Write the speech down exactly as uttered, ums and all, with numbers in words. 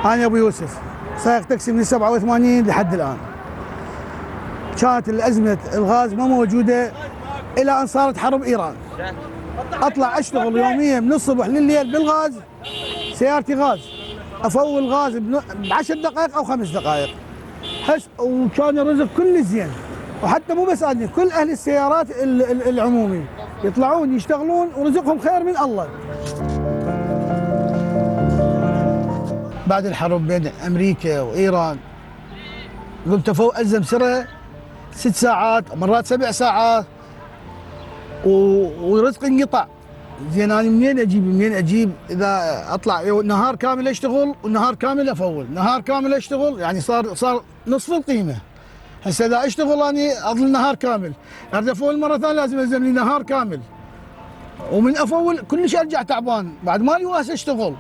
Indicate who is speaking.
Speaker 1: أنا أبو يوسف سائق تاكسي من سبعة وثمانين لحد الآن. كانت الأزمة الغاز ما موجودة إلى أن صارت حرب إيران. أطلع أشتغل يوميا من الصبح لليل بالغاز، سيارتي غاز، أفول غاز بعشر دقائق أو خمس دقائق. حس وكان الرزق كل زين، وحتى مو بس أنا، كل أهل السيارات العمومي يطلعون يشتغلون ورزقهم خير من الله. بعد الحرب بين أمريكا وإيران قمت أفوق ألزم سرة ست ساعات مرات سبع ساعات ورزقي انقطع. زين أنا منين أجيب منين أجيب إذا أطلع نهار كامل أشتغل ونهار كامل أفول، نهار كامل أشتغل يعني صار صار نصف القيمة. هسه إذا أشتغل أنا أظل نهار كامل، أريد أفول مرة ثانية لازم ألزم لي نهار كامل، ومن أفول كلش أرجع تعبان بعد مالي واس أشتغل.